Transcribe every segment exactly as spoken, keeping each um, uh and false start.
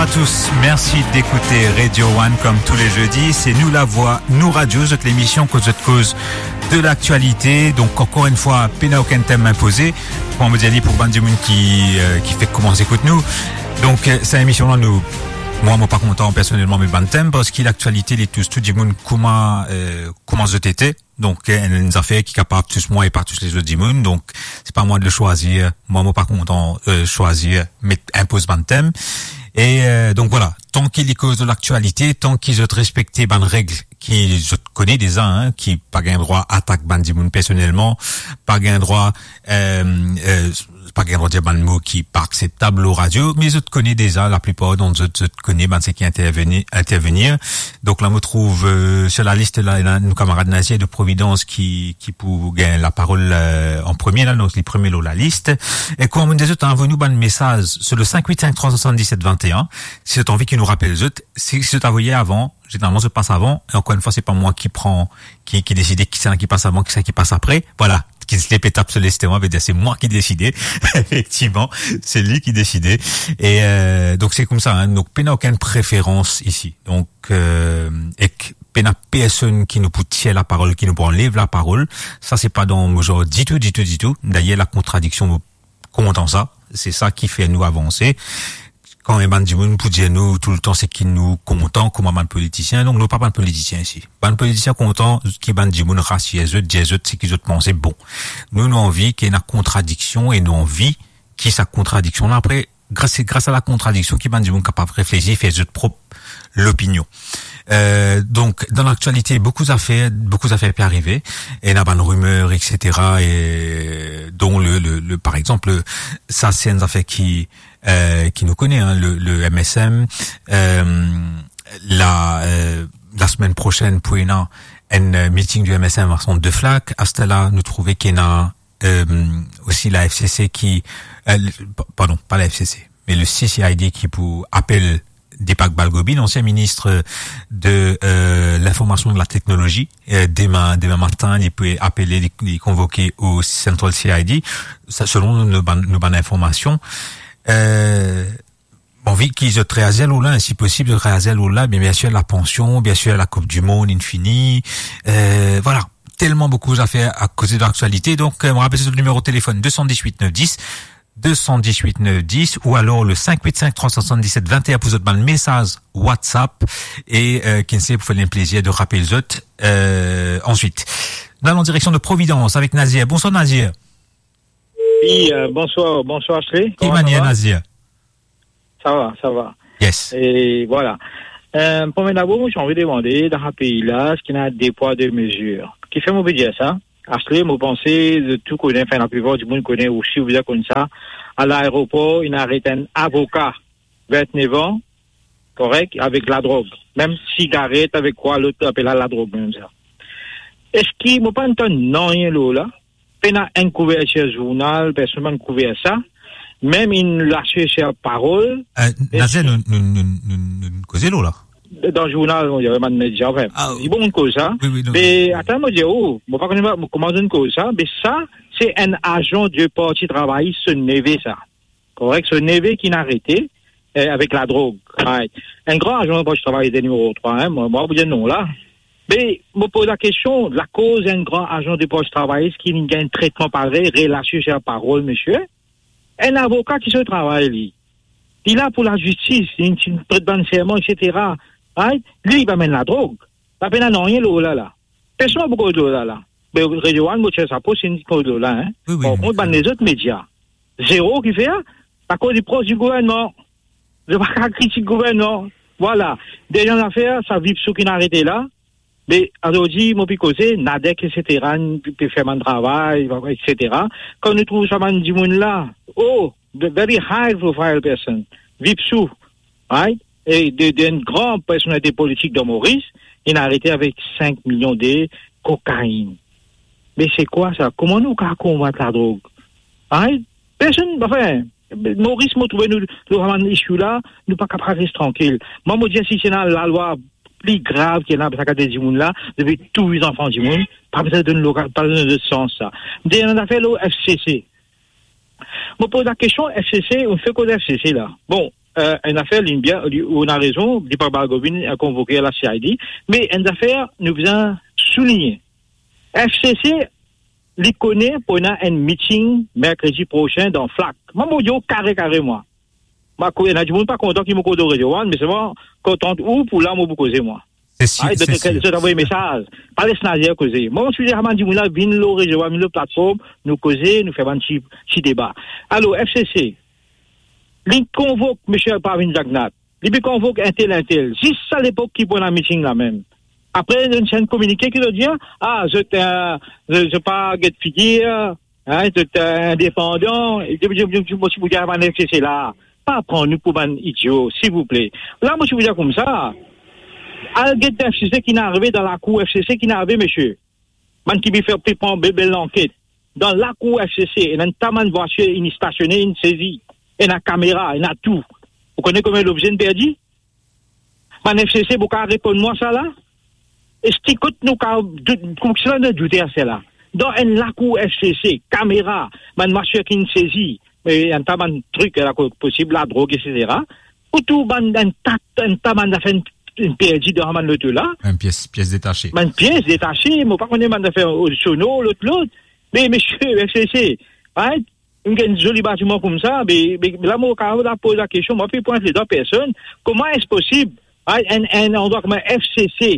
Bonsoir à tous, merci d'écouter Radio One comme tous les jeudis. C'est Nous la Voix, Nou Radio, zot lemision kot zot koz de laktialite. Donk, ankor enn fwa, pena okenn tem inpoze. Kouma mo dir li, pou bann dimoun ki, euh, ki fek koumans ekout nou. Donk, euh, sa emision la, nou, mwa, mo pa kontan personelman met bann tem, parski laktialite, li tous tou dimoun kouma, euh, kouma zot ete. Donk, euh, enn zafer ki kapav tous mwa e pa tous lezot dimoun. Donk, se pa mwa de swazir. Mwa, mo pa kontan, euh, swazir, met, inpoz bann tem. E, euh, donk, vwala, tan ki li koz de laktialite, tan ki zot respekte bann reg ki zot kone deza, hein, ki pa gagn drwa atak bann dimoun personelman, pa gagn drwa, euh, euh, pa gagn drwa dir bann mo ki pa akseptab lor radio, me zot kone deza, laplipar dan zot, zot kone bann seki interveni-, intervenir. Donk la, mo trouv, euh, sur la liste la, ena nou kamarad Nazier de Providence ki, ki pou gagn laparol, euh, an premie la, donk li premie lor lalis. E kouma mo dir zot, anvoy nou bann mesaz sur le cinq huit cinq trois cent soixante-dix-sept vingt et un. Si zot anvi ki nou rapel zot, si, si zot avoye avan, zeneralman zot pas avan, e ankor enn fwa, se pa mwa ki pran, ki, ki deside kisannla ki pas avan, kisannla ki pas apre. Vwala, Kingsley pe tap so lestoma, vedir se mwa ki deside. Efektivman, se li ki deside. E, euh, donk, se koumsa, hein. Donk, pena okenn preferans isi. Donk, euh, ek pena personn ki nou pou tir laparol, ki nou pou anlev laparol. Sa, se pa dan mo zanr ditou, ditou, ditou. Dayer, lakontradiksion, mo kontan sa. Se sa ki fer nou avanse. Kan enn bann dimoun pou dir nou toultan seki nou kontan kouma bann politisien, donk nou pa bann politisien isi. Bann politisien kontan ki bann dimoun rasir zot, dir zot seki zot panse bon. Nou, nou anvi ki ena kontradiksion e nou anvi ki sa kontradiksion la, apre, gras, se gras a lakontradiksion ki bann dimoun kapav reflesi, fer zot prop lopinion. Euh, donk, dan laktialite, boukou zafer, boukou zafer pe arive, ena bann rimer, et cetera, e don le, le, le, par exanp, sa, se enn zafer ki, euh, ki nou kone, hein, le, le M S M, euh, la, euh, lasemenn prosenn pou ena enn, euh, meeting du M S M a Sant de Flak. Aster la, nou trouve ki ena, euh, osi la F C C ki, euh, le, pa-, pardon, pa la F C C, me le C C I D ki pou apel Deepak Balgobi, l'ancien ministre de, euh, l'Information et de la Technologie. Euh, demin, demin matin, li pou apele, li, li konvoke o Central C I D. Sa, selon nou, nou bann, nou bann informasion. Euh, bon, vi ki zot reazir lor la, si posib, zot reazir lor la, bien, biensir, lapansion, biensir, la Coupe du Monde, inn fini. Euh, vwala. Telman boukou zafer a koze dan laktialite. Donk, euh, mo rapel, se le nimero telefone deux cent dix-huit neuf dix, deux cent dix-huit neuf dix, ou alor le cinq huit cinq trois cent soixante-dix-sept vingt et un pou zot bann mesaz WhatsApp. E, euh, Kingsley, pou fer li plezir de rapel zot, euh, answit. Nou al an direksion de Providence avek Nazier. Bonsoir, Nazier. Oui, euh, bonsoir, bonsoir, Ashley. Ki manier, Nazier? Ça va, ça va. Yes. E vwala. Euh, premie dabor, mo ti anvi demande, dan sa pei la, eski ena de pwa, de mezir? Kifer mo pe dir sa? Ashley, mo panse, zot tou kone, anfin, laplipar dimoun kone osi, ou bizin konn sa. A laeropor, inn aret enn avoka, vintnef an, korek, avek ladrog. Mem sigaret, avek kwa, lot apel la ladrog, mem sa. Eski mo pa'nn tann nanye lor la? Pena enn kouvertir zournal, personn pa'nn kouver sa. Mem inn lasie so parol. Euh, Nazier, nou, nou, nou, nou, nou koze lor la. Dan zournal, nou, bann media, anfin. Ah, li bon, nou koz sa. Oui, oui, non, me non. Atann, mo dir, oh, mo pa kone kouma nou koz sa, me sa, se enn azan de Parti Travayis, so neve sa. Korek, so neve ki inn arete, eh, avek ladrog. Right. Enn gran azan Parti Travayis, nimero trwa, hein, mo, mo pa pou dir non la. Me mo poz lakestion, lakoz enn gran azan de Parti Travayis ki inn gagn tretman parey, relasion so parol, misie? Enn avoka ki so travay li. Li la pou lazistis, li, li pret bann serman, et cetera. Right? Li, li pa amenn ladrog. Pa pena nanye lor la, la. Personn pa pou koz lor la, la. Me Radio One, mo tir sapo, si inn koz lor la, hein. Oui, oui, par kont, bann lezot media, zero ki fer, akoz li pros di gouvernman. Zot pa kapav kritik gouvernman. Vwala. Dernie zafer, sa Vipsou ki inn arete la. Me azordi, mo pe koze, Nadek, et cetera, pe fer bann travay, et cetera. Kan nou trouv sa bann dimoun la, oh, the very high profile person, Vipsou, right? E de, de enn gran personalite politik dan Moris, inn arete avek sink milion de kokainn. Me se kwa sa? Kouma nou kapav konbat ladrog? Right? Personn, anfin, Moris, mo trouve nou, nou sa bann issue la, nou pa kapav res trankil. Mwa, mo dir, si ti ena lalwa pli grav ki ena sa kate dimoun la, depi touy zanfan dimoun, pa bizin donn loka-, pa donn zot sans sa. Dernie zafer, lor F C C. Mo poz lakestion, F C C, ou fer koz F C C la. Bon, eh, enn zafer, li bien, li, ou ena rezon, li pa kapav vinn, eh, konvoke la C I D, me enn zafer, nou bizin souligne. F C C, li kone pou ena enn meeting merkredi prosin dan Flak. Mwa, mo dir ou kare, kare, mwa. Mwa, kou ena dimoun pa kontan ki mo koz lor Radio One, me selman kontan ou pou la, mo pou koze, mwa. Se sir, Ay, se donk, sir, zot avoy se sir. Mesaz. Pa les Nazier koze. Mwa, mo ti dir, ah, bann dimoun la, vinn lor Radio One, vinn lor platform, nou koze, nou fer bann ti, ti deba. Alor, F C C, li konvok misie Parvin Jagnat, li pe konvok entel, entel. Zis sa lepok ki pou ena meeting la mem. Apre, zot enn kominike ki zot dir, ah, zot, eh, zot, zot pa get figir, hein, zot, eh, indepandan. E depi, depi, depi, mo ti pou dir bann F C C la, pa pran nou pou bann idio, silvouple. La, mo ti pou dir koumsa, al get F C C ki ena arive dan lakour F C C ki ena arive, misie. Bann ki pe fer, pe pran be-, bel lanket. Dan lakour F C C, ena enn ta bann vwatir inn stasione, inn sezi. Ena kamera, ena tou. Ou kone konbien lobze inn perdi? Bann F C C, pou kapav reponn mwa sa la? Eski kot nou kapav dout, koumsa nou doute ar sa la? Dan enn lakour F C C, kamera, bann vwatir ki inn sezi, e enn ta bann trik la, ko-, posib ladrog, et cetera. Pou tou bann, enn ta, enn ta bann zafer inn, inn perdi dan bann loto la. Enn pies, pies detase. Bann pies detase, mo pa kone bann zafer, o, sono, lot, lot. Me, misie, F C C, right? Inn gagn zoli batiman koumsa, me, me la, mo kapav la poz la kestion, mo pe pwint ledwa personn, kouma es posib, right, enn, enn landrwa kouma F C C,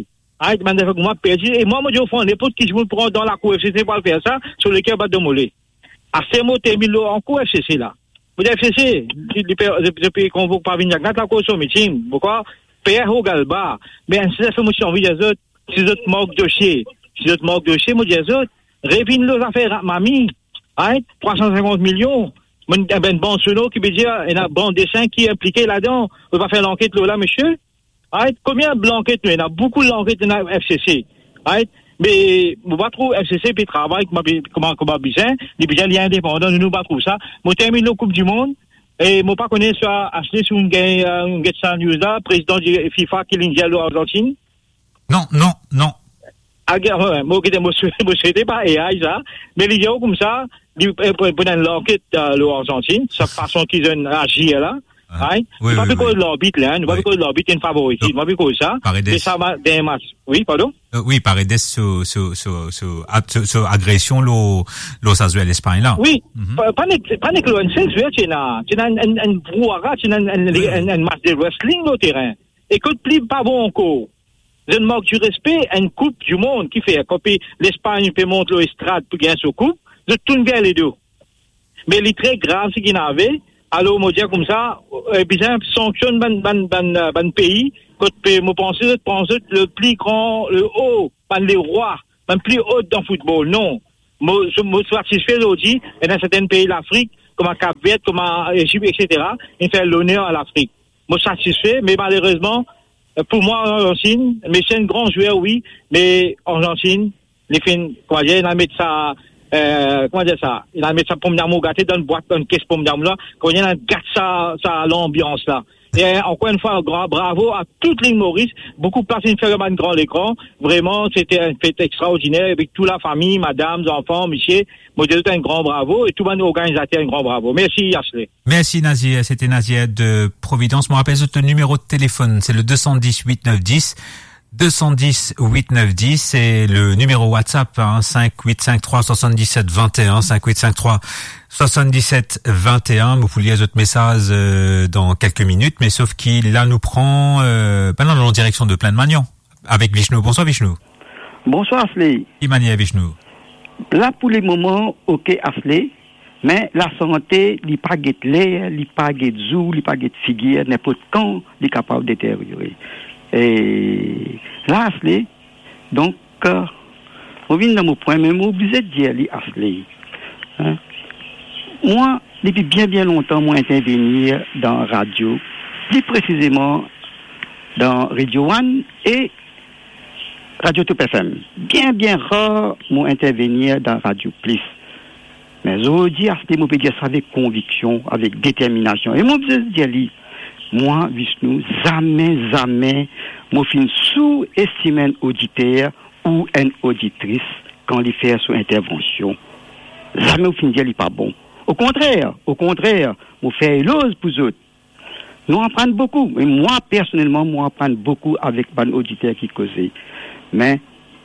right, bann zafer kouma perdi, e mwa, mo dir ou fran, ninport ki dimoun pran dan lakour F C C pou al fer sa, so leker bat dan mo le. Aster mo terminn lor ankor F C C la. Mo dir F C C, li, li pe, li, li pe konvok Parvin Jagnat la, akoz so meeting. Poukwa? Per Hogalba. Me enn sel zafer mo ti anvi dir zot, si zot mank dosie, si zot mank dosie, mo dir zot, revinn lor zafer Mami, right? Trwa san sinkant milion. Mo, enn bann sono ki pe dir, ena bann desin ki inplike ladan. Ou pa fer lanket lor la, misie? Right? Konbien lanket nou ena? Boukou lanket ena F C C. Right? Me mo pa trouv F C C pe travay kouma, kouma, kouma bizin, li bizin li indepandan, nou, nou pa trouv sa. Mo terminn lor Koup di Mond, e mo pa kone si Ashley, si ou gagn, eh, ou get sa news la, prezidan di FIFA ki linn dir lor Arzantinn. Non, non, non. Ah, ge-, we, mo gete, mo swe-, mo swete pa A I sa, me li dir koumsa, li, eh, pou, pou enn lanket, eh, lor Arzantinn, sa fason ki zot inn azir la, Ah, right? Wi, nou pa wi, pe koz wi. Larbit la, hein, nou pa pe koz larbit, enn favorisit, nou pa pe koz sa. Paredes. Me sa va, dan match. Wi, pardon? Eh, wi, Paredes so, so, so, so, a-, so, so agresion lor, lor sa zwer Lespagn la. Wi, pa, pa nek, pa nek lor enn sel zwer, ti ena, ti ena enn, enn, enn brouhara, ti ena enn, enn, wi, wi. Enn, enn match de wrestling lor terin. E kot pli pa bon ankor, zot mank di respe, enn Koup di Mond ki fer, kan pe Lespagn pe mont lor estrad pou gagn so koup, zot tourn ver ledo. Me li tre grav seki inn arive. Alor, mo dir koumsa, eh, bizin sanksionn bann, bann, bann, eh, bann pei, kot pe, mo panse zot pran zot le pli gran, le o, bann lerwa, bann pli o dan foutbol. Non. Mo, mo satisfe zordi, ena sertin pei Lafrik, kouma Kap Ver, kouma Ezipt, et cetera, inn fer loner a Lafrik. Mo satisfe, me malerezman, eh, pou mwa, Arzantinn, Messi enn gran zwer, wi, me Arzantinn, li finn, kouma dir, inn al met sa, eh, kouma dir sa, inn al met sa pomdamour gate dan bwat, dan kes pomdamour la, kouma dir, inn al gat sa, sa lanbians la. E, eh, ankor enn fwa, gran bravo a tout Lil Moris, boukou plas inn fer dan bann gran lekran, vreman, sete enn fet extraordiner, avek tou lafami, madam, zanfan, misie, mo dir zot enn gran bravo, e tou bann organizater enn gran bravo. Mersi, Ashley. Merci Nazier, c'était Nazier de Providence. Mo rapel zot le nimero de telefone, se le deux cent dix huit neuf dix, deux cent dix huit neuf dix, e le nimero WhatsApp, hein, cinq huit cinq trois soixante-dix-sept vingt et un, cinq huit cinq trois soixante-dix-sept vingt et un. Mo pou lir zot mesaz, euh, dan kelke minit, me sof ki la nou pran, euh, ben non, nou an direksion de Plaine Magnan avek Vishnu. Bonswar Vishnu. Bonswar Ashley. Ki manier Vishnu? La pou le moman, ok Ashley, me lasante, li pa get ler, li pa get zour, li pa get figir, ninport kan li kapav deteryore. E la Ashley, donk, euh, mo vinn dan mo pwin, me mo oblize dir li Ashley. Hein? Mwa, depi bien, bien lontan, mo intervenir dan radio, pli presizeman dan Radio One e Radio Top F M. Bien, bien rar mo intervenir dan Radio Plus. Me zordi, Ashley, mo pe dir sa avek konviksion, avek determinasion. E mo bizin dir li, mwa, Vishnu, zame, zame mo finn souestim enn oditer ou enn oditris kan li fer so intervansion. Zame mo finn dir li pa bon. Okontrer, okontrer, mo fer eloz pou zot. Nou aprann boukou, e mwa personelman, mo aprann boukou avek bann oditer ki koze. Me,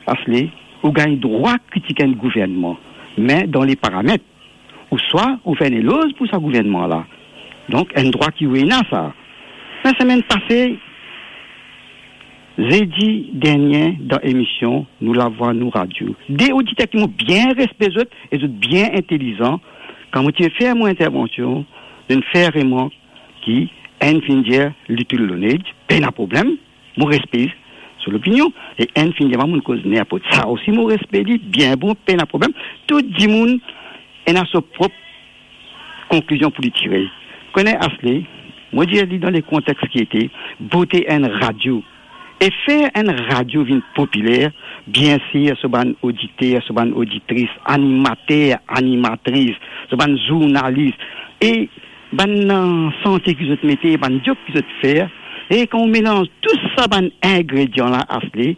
Asle, ou gagn drwa kritik enn gouvernman, me dan le paramet, ouswa ou fer enn eloz pou sa gouvernman la. Donk, enn drwa ki ou ena sa. Lasemenn pase, zedi dernie, dan emision Nou Lavwa Nou Radio, de oditer ki mo bien respe zot, e zot bien intelizan, kan mo ti fer mo intervansion, zot inn fer remark ki enn finn dir Little Learned, pena problem, mo respe so lopinion, e enn finn dir, mo koz ninport. Sa osi mo respe li, bien bon, pena problem. Tou dimoun ena so prop konklizion pou li tire. Kone, Asle, mo dir li dan le kontex ki ete, bote enn radio, e fer enn radio vinn popiler, bien sir, so bann oditer, so bann oditris, animater, animatris, so bann zournalis, e bann, euh, sante ki zot mete, bann diok ki zot fer, e kan ou melanz tou sa bann ingredian la, Asle,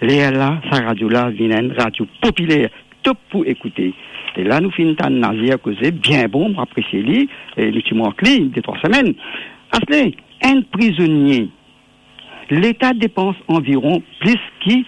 lerla, sa radio la vinn enn radio popiler, top pou ekoute. E la nou finn tann Nazer koze, bien bon, mo apresie li, e nou ti mank li de trwa semenn. Asle, enn prizonie, Leta depans anviron plis ki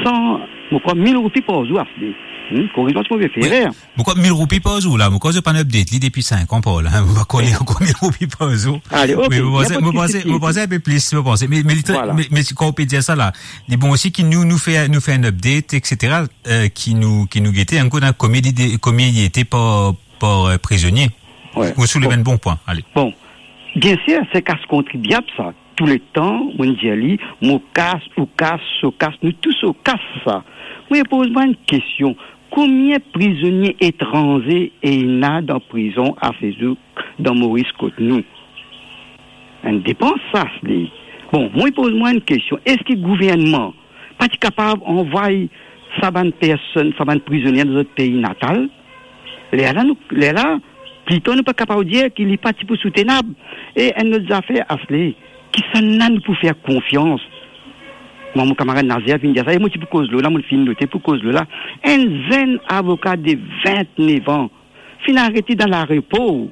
san, mo krwar, mil roupi par zour, Asle. Hmm, koriz mwa si mo pe fer erer. Mo krwar mil roupi par zour la, mo krwar zot pa inn update li depi sink an par la, hein. Mo pa kone ankor mil roupi par zour. Ale, ok, mo panse, mo panse, mo panse enn pe plis, mo panse. Me, me li tre-, me, me kan ou pe dir sa la, li bon osi ki nou, nou fer, nou fer enn update, et cetera, euh, ki nou, ki nou gete ankor dan komie li de, komie li ete par, par, euh, prizonie. Ou souleve enn bon pwin, ale. Bon, bien sir, se kas kontribiab sa. Touletan, mo dir li, mo kas, ou kas, so kas, nou tou so kas sa. Mo poz mwa enn kestion, konbien prizonie etranze ena dan prizon asezour dan Moris kot nou? Enn depans sa, li. Bon, mo poz mwa enn kestion, eski gouvernman pa ti kapav anvway sa bann personn, sa bann prizonie dan zot pei natal? Lerla nou, lerla, plito nou pa kapav dir ki li pa ti pou soutenab. E enn lot zafer, Asle, kisannla nou pou fer konfians? Mwa, mo kamarad Nazer finn dir sa, e mo ti pou koz lor la, mo finn note pou koz lor la. Enn zenn avoka de vintnef an finn arete dan laeropor,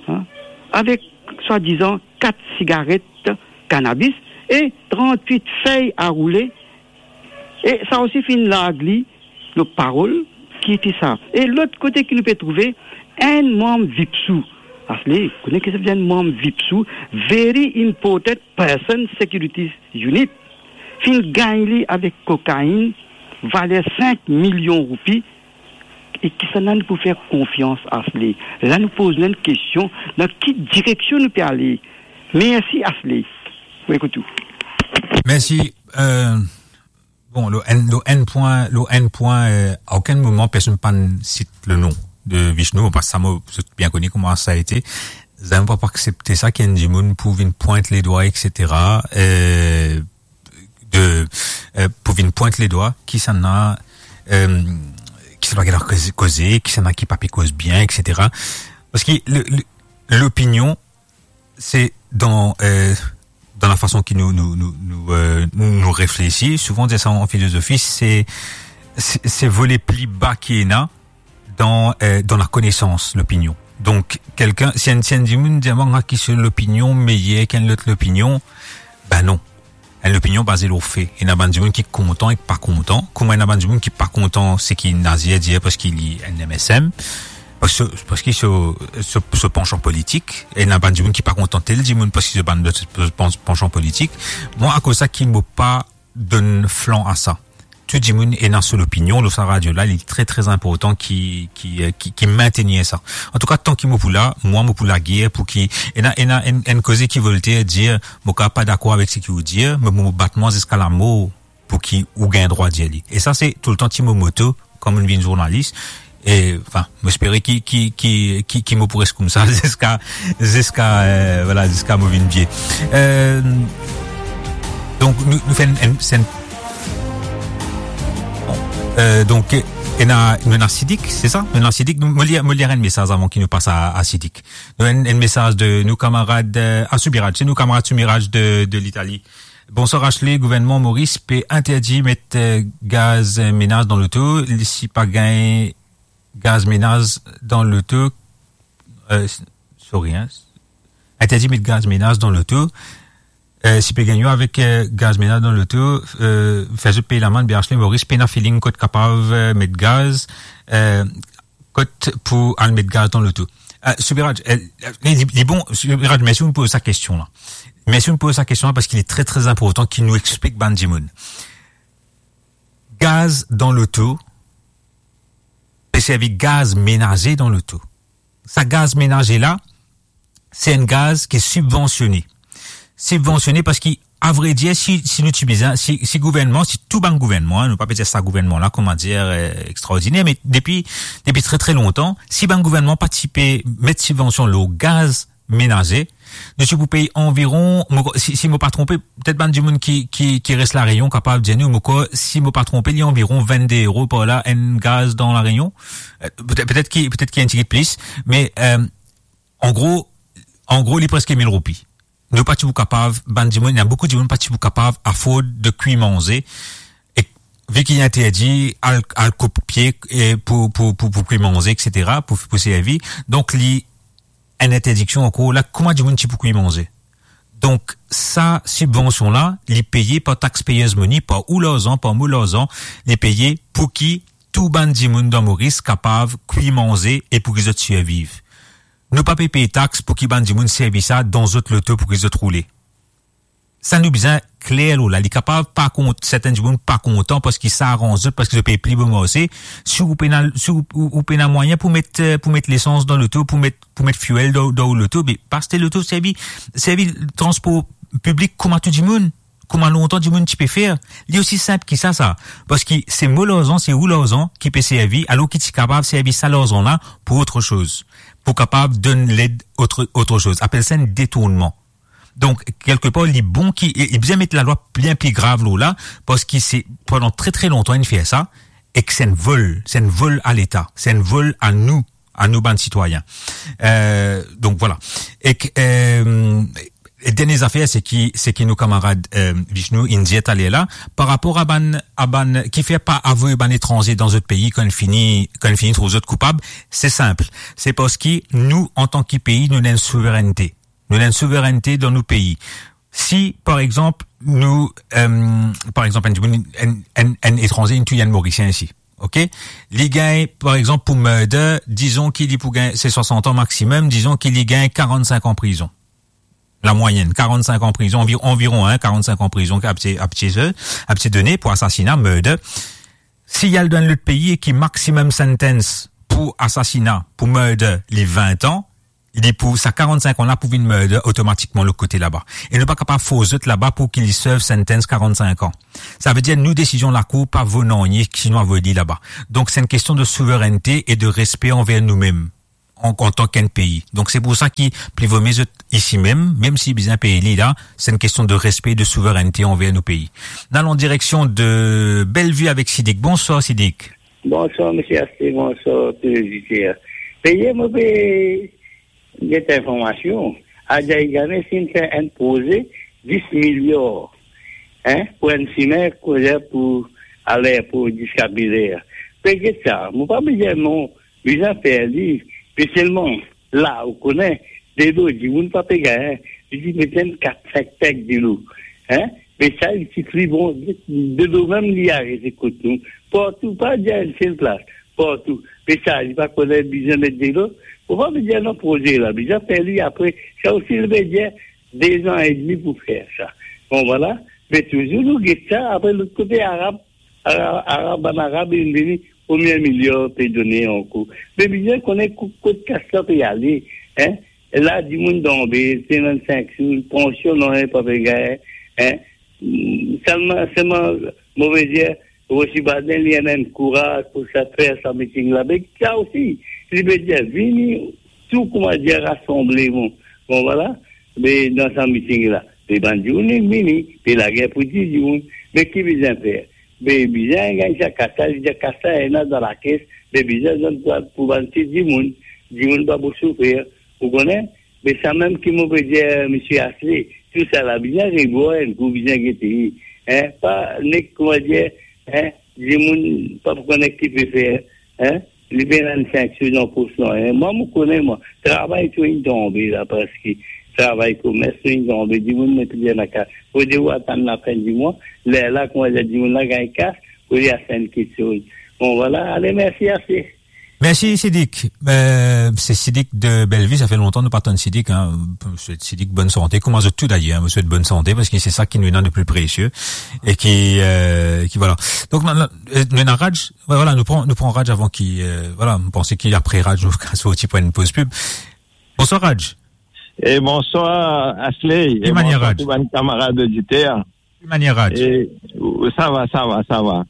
hein, avek swadizan kat sigaret kanabis e trantwit fey a roule, e sa osi finn larg li lor parol ki ete sa. E lot kote ki nou pe trouve enn manm VIPSU, Asle, kone ki sa vedir enn manm VIPSU, Very Important Person Security Unit, finn gagn li avek kokainn valer sink milion roupi, e kisannla nou pou fer konfians, Asle? La nou poz nou enn kestion, dan ki direksion nou pe ale? Mersi, Asle. Mo ekout ou. Mersi. Euh, bon, lor enn, lor enn pwin, lor enn pwin, euh, a okenn moman personn pa'nn sit le nom de Vishnu, parski sa mo, zot bien koni kouma sa ete. Zame mo pa pou aksepte sa, ki enn dimoun pou vinn pwint ledwa, et cetera. Euh, de, euh, pou vinn pwint ledwa, kisannla, euh, kisannla ki ena koze, koze, kisannla ki pa pe koz bien, et cetera. Parski le, le, lopinion, se dan, euh, dan lafason ki nou, nou, nou, nou, euh, nou, nou reflesi. Souvan, dir sa an filozofi, se, se, se vole pli ba ki ena, dan, euh, dan lakonesans, lopinion. Donk, kelkenn, si enn, si enn dimoun dir mwa, ah, ki so lopinion meyer ki enn lot lopinion, ben non. Enn lopinion baze lor fe. Ena bann dimoun ki kontan ek pa kontan. Kouma ena bann dimoun ki pa kontan seki Nazer dir parski li enn M S M, parski, parski so, so, so pansan politik. Ena bann dimoun ki pa kontan tel dimoun parski so bann, so pan-, pansan politik. Mwa, akoz sa ki mo pa donn flan a sa. Tou dimoun ena so lopinion lor sa radio la, li tre, tre inportan ki, ki, euh, ki, ki mintenir sa. Antouka, tan ki mo pou la, mwa, mo pou lager pou ki, ena, ena enn, enn koze ki Voltaire dir, mo kapav pa dakor avek seki ou dir, me mo bat mwa ziska lamor pou ki ou gagn drwa dir li. E sa, se toultan ti mo moto, kan mo vinn zournalis, e, anfin, mo espere ki, ki, ki, ki, ki mo pou res koumsa ziska, ziska, euh, vwala, ziska mo vinn vie. Euh, donk, nou, nou fer enn, enn, se enn, bon, euh, donk, ena, nou ena Sidik, se sa? Nou ena Sidik, nou, mo lir, mo lir enn mesaz avan ki nou pas a, a Sidik. Nou ena enn, enn mesaz de nou kamarad, euh, a Soumiraj, se nou kamarad Soumiraj de, de Litali. Bonswar Asle, gouvernman Moris pe interdi met, euh, gaz, euh, menaz dan loto. Li, si pa gagn gaz menaz dan loto, euh, s-, sorry, hein. Interdi met gaz menaz dan loto. Eh, si pe gagn avek, eh, gaz menaz dan loto, eh, fer zot pey lamann, B H L Maurice pena feeling kot kapav, eh, met gaz, eh, kot pou al met gaz dan loto. Eh, Subiraj, eh, li, li bon, Subiraj, mersi pou poz sa kestion la. Mersi pou poz sa kestion la, parski li tre, tre inportan ki nou explik bann dimoun. Gaz dan loto, pe servi gaz menaze dan loto. Sa gaz menaze la, se enn gaz ki sibvansione. Sibvansione parski, avredir, si, si nou ti bizin, si, si gouvernman, si tou bann gouvernman, nou pa pe dir sa gouvernman la, kouma dir, eh, extraordiner, me depi, depi tre, tre lontan, si bann gouvernman pa ti pe met sibvansion lor gaz menaze, nou ti pou pey anviron, mo, si, si mo pa tronpe, petet bann dimoun ki, ki, ki res La Réunion kapav dir nou, mo krwar, si mo pa tronpe, li anviron vennde euro par la, enn gaz dan La Réunion. Eh, petet, petet ki, petet ki enn tigit plis, me, eh, an gro, an gro, li preske mil roupi. Nou pa ti pou kapav, bann dimoun, ena boukou dimoun pa ti pou kapav afford de kwi manze, e vi ki li interdi, al, al koup pie, e pou, pou, pou, pou kwi manze, et cetera, pou, pou servi. Donk, li enn interdiksion ankor la, kouma dimoun ti pou kwi manze? Donk, sa sibvansion la, li peye par taxpayers money, par ou larzan, par mo larzan, li peye pou ki tou bann dimoun dan Moris kapav kwi manze e pou ki zot sirviv. Nou pa pe pey tax pou ki bann dimoun servi sa dan zot loto pou ki zot roule. Sa nou bizin kler lor la. Li kapav pa kont-, sertin dimoun pa kontan parski sa aranz zot, parski zot pe pli bon marse. Si ou pena, si ou, ou, ou pena mwayin pou met, eh, pou met lesans dan loto, pou met, pou met fuel dan, dan ou loto, be, pa aste loto, servi, servi transpor piblik kouma tou dimoun. Kouma lontan dimoun ti pe fer. Li osi sinp ki sa, sa. Parski se mo larzan, se ou larzan ki pe servi, alor ki ti kapav servi sa larzan la pou otro soz. Pou kapav donn led otro, otro soz. Apel sa enn detournman. Donk, kelkepar, li bon ki, e, e bizin met lalwa bien pli grav lor la, parski se, pandan tre, tre lontan, inn fer sa, e ki se enn vol, se enn vol a Leta, se enn vol a nou, a nou bann sitwayin. Eh, donk, vwala. E ki, eh, e dernie zafer, se ki, se ki nou kamarad, eh, Vishnu, inn dir taler la, par rapor a bann, a bann, kifer pa avoy bann etranze dan zot pei kan inn fini, kan inn fini trouv zot koupab, se sinp. Se parski nou, antan ki pei, nou ena enn souverennte. Nou ena enn souverennte dan nou pei. Si, par exanp, nou, eh, par exanp, enn dimoun, enn, enn, enn etranze, inn touy enn Morisien isi, ok? Li gagn, par exanp, pou murder, dizon ki li pou gagn, se swasant an maximum, dizon ki li gagn karant-sink an prizon. La moyenne, karant-sink an prizon, anvi-, anviron, hein, karant-sink an prizon, apti-, apti-, apti done pou asasina, murder. Si li al dan enn lot pei e ki maximum sentence pou asasina, pou murder, li vin an, li pou, sa karant-sink an la pou vinn murder otomatikman lot kote laba. E nou pa kapav fors zot laba pou ki li serve sentence karant-sink an. Savedir nou desizion lakour pa vo nanye si nou avoy li laba. Donk, se enn kestion de souverennte e de respe anver noumem, an, antan ki enn pei. Donk, se pou sa ki pli vomie zot isi mem, mem si bizin pey li la, se enn kestion de respe e de souverennte anver nou pei. Nou al an direksion de Bellevue avek Sidik. Bonswar, Sidik. Bonswar, misie Asté, bonswar, tou lezoditer. Peye mo pe get informasion, Adjaye Ganesh inn fer enn proze dis miliar, hein, pou enn simin koze pou alerpo ziska Bel Air. Pe get sa, mo pa bizin non, bizin fer li, me selman, la, ou kone, delo, dimoun pa pe gagn, li ti met enn kat, sink peg delo, hein, me sa, li ti pli bon, delo mem, li arive kot nou, partou, pa dir enn sel plas, partou. Me sa, li pa kone bizin met delo. Mo pa bizin non proze la, bizin fer li apre. Sa osi, li pe dir de zan edmi pou fer sa. Bon, vwala. Me touzour nou get sa, apre lot kote Arab, Arab, Arab, bann Arab, inn vini, konbien miliar pe done ankor. Me bizin kone ko-, kot kas la pe ale, hein? La, dimoun tonbe, se vennsenk sou, pansion, non, pa pe gagn, hein? Selman, selman, mo pe dir, Rosi Baden, li ena enn kouraz pou sa, fer sa miting la. Me sa osi, li pe dir, vini, tou, kouma dir, rasanble, bon. Bon, vwala, me dan sa miting la. Me bann dimoun inn vini, me lager pou dir dimoun, me ki bizin fer? Me bizin gagn sa kas la, li dir kas la ena dan lakes, me bizin donn pou, pou bann ti dimoun, dimoun pa pou soufer, ou kone? Me sa mem ki mo pe dir, misie Asté, tou sa la bizin revwar enn kou, bizin gete, hein, pa nek, kouma dir, hein, dimoun pa pou kone ki pe fer, hein, li pena enn sink sou dan pos la, hein. Mwa, mo kone, mwa, travay tou inn tonbe la, parski travay komers, nou inn zanbe dimoun, nou tou dir lakaz. Pou dir ou atann lafin dimwa, lerla, kouma dir, dimoun la gagn kas, pou li astenn kiksoz. Bon, vwala, ale, mersi, ase. Mersi, Sidik. Euh, se Sidik de Bellevue, sa fer lontan nou pa tann Sidik, hein. Sidik, bonn sante. Kouma zot tou, dayer, hein, mo swet bonn sante, parski se sa ki nou ena de pli presie. E ki, euh, ki, vwala. Donk, nou, nou, euh, nou ena Raj, vwala, nou pran, nou pran Raj avan ki, euh, vwala, mo panse ki apre Raj, nou sorti pou enn poz pib. Bonswar, Raj. E bonswar, Ashley. Ki manier, Raj? E bonswar tou bann kamarad oditer. Ki manier, Raj? E, ou, sa va, sa va, sa va.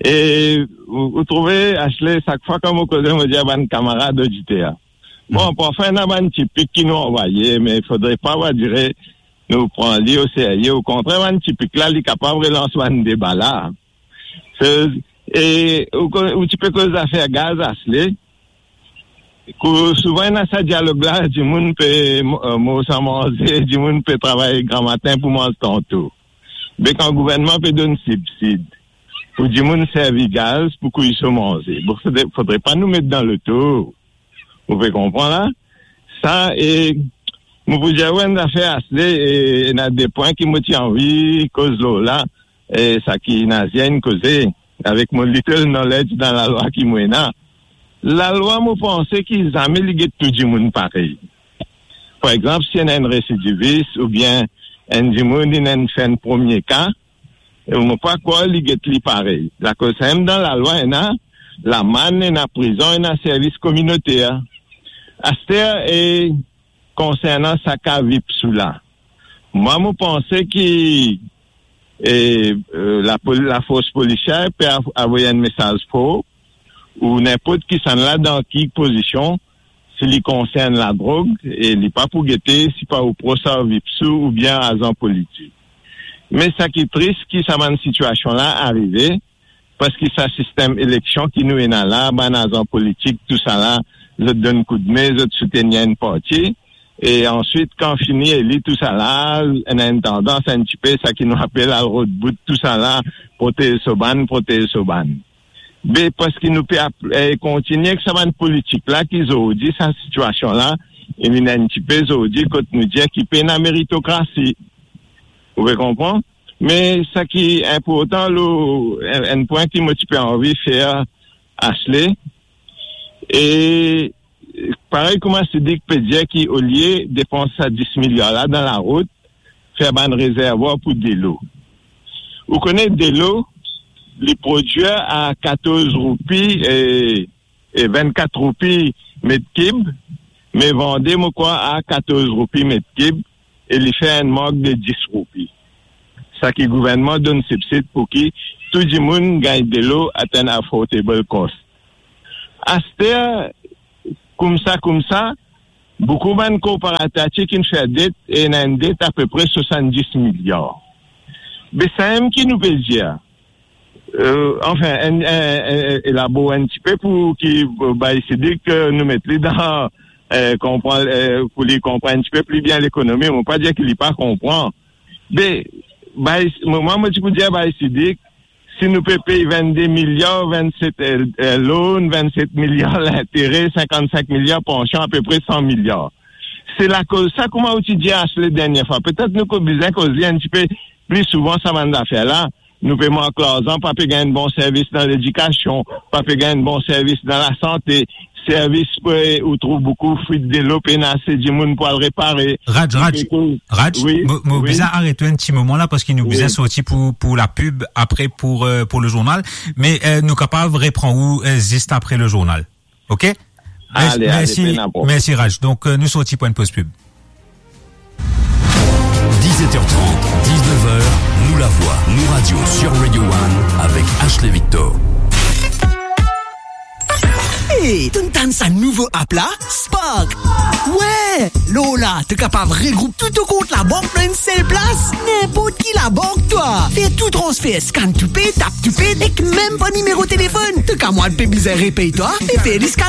E, ou, ou trouve, Ashley, sak fwa kan mo koze, mo dir bann kamarad oditer. Bon, hmm, parfwa, ena bann ti pik ki nou anvoye, me fodre pa, va dire, nou pran li oserye. Okontrer, bann ti pik la, li kapav relans bann deba la. Se, e, ou ko-, ou ti pe koz zafer gaz, Ashley. Kou souvan ena sa dialog la, dimoun pe mo-, euh, mor san manze, dimoun pe travay gramatin pou manz tanto. Be kan gouvernman pe donn sibsid pou dimoun servi gaz pou kwi so manze, bon, fodre, fodre pa nou met dan loto. Ou pe konpran la? Sa, e, mo pou dir ou enn zafer, Ashley, e, ena de pwin ki mo ti anvi koz lor la, e, sa ki Nazir inn koze, avek mo little knowledge dan lalwa ki mo ena. Lalwa, mo panse ki zame li get tou dimoun parey. Par exanp, si ena enn residivis oubien enn dimoun inn enn fer enn premie ka, e mo pa krwar li get li parey. Lakoz samem dan lalwa ena lamann, ena prizon, ena servis kominoter. Aster, e, konsernan sa ka Vipsou la, mwa, mo panse ki, e, e, lapol-, lafors polisier pe av-, avoy enn mesaz for, ou ninport kisannla dan ki pozision, si li konsern ladrog, e li pa pou gete si pa ou pros ar Vipsou oubien azan politik. Me sa ki tris, ki sa bann sitiasion la arive, parski sa sistem eleksion ki nou ena la, bann azan politik, tousala, zot donn koudme, zot soutenir enn parti, e answit, kan fini eli tousala, ena enn tandans enn tipe, sa ki nou apel al rod bout tousala, protez so bann, protez so bann. Be, parski nou pe ap-, e, kontigne ek sa bann politik la ki zordi, sa sitiasion la, e vinn enn tipe zordi kot nou dir ki pena meritokrasi. Ou pe konpran? Me sa ki inportan, lor enn, enn pwin ki mo ti pe anvi fer, Ashley, e parey kouma Sidik pe dir ki olie depans sa dis miliar la dan larout, fer bann rezervwar pou delo. Ou kone delo, li prodwir a katorz roupi, e, e vennkat roupi met kib, me vande, mo krwar, a katorz roupi met kib, e li fer enn mank de dis roupi. Sa ki gouvernman donn sibsid pou ki tou dimoun gagn delo at an affordable cost. Aster, koumsa, koumsa, boukou bann korporater ti inn fer det, e ena enn det apepre swasanndis miliar. Be samem ki nou pe dir, e, anfin, enn, enn, enn, elabor enn tipe pou ki, e, bay Sidik, e, nou met li dan, e, konpran, e, pou li konprann enn tipe pli bien lekonomi. Mo pa dir ki li pa konpran. Be, bay, mo, mwa, mo ti pou dir bay Sidik, si nou pe pey vennde miliar, vennset, e, e, loan, vennset miliar lintere, sinkannsink miliar pansion, apepre san miliar. Se lakoz sa, kouma ou ti dir Ashley dernie fwa, petet nou ko-, bizin koz li enn tipe pli souvan sa bann zafer la. Nou pe mank larzan, pa pe gagn bon servis dan ledikasion, pa pe gagn bon servis dan lasante, servis pe, ou trouv boukou fwit delo pena ase dimoun pou al repare. Raj, Raj, Raj, wi, mo, mo bizin aret ou enn ti moman la, parski nou bizin sorti pou, pou lapib, apre pou, e, pou lezournal. Me, e, nou kapav repran ou, e, zis apre lezournal. Ok? Ale, ale, pena problem. Mersi, Raj. Donk, e, nou sorti pou enn poz pib. Dix-sept heures trente, dix-neuf heures, Nou Lavwa, Nou Radio sur Radio One avec Ashley Victor. Hey, to'nn tann sa nouvo app la, Spark? Wi, lor la, to kapav regroup tou to kont labank dan enn sel plas. Ninport ki labank twa. Fer tou transfer, scan to pay, tap to pay, ek mem par nimero telefonn. To kamarad pe bizin repey twa, li fer li scan